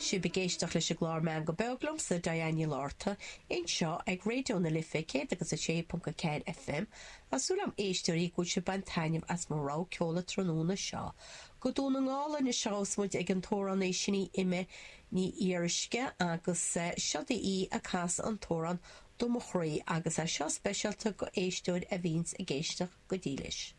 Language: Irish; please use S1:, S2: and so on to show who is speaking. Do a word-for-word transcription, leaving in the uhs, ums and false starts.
S1: Sibh ag éisteacht leis an gclár Meangadh Beag liomsa Diane Ní Lorta anseo ag Raidió na Life céad agus a sé ponc a ceathair FM Tá súil agam a éisteoirí go bhfuil sibh ag baint taitneamh as mo rogha ceoil an tráthnóna seo. Go Dún na nGall anois a ghabhfas muid ag an t-amhránaí sin í Emma Ní Fhíoruisce agus seo í ag casadh an t-amhrán Do Mo Chroí agus é seo speisialta go éisteoir a bhíonns ag éisteacht go dílis.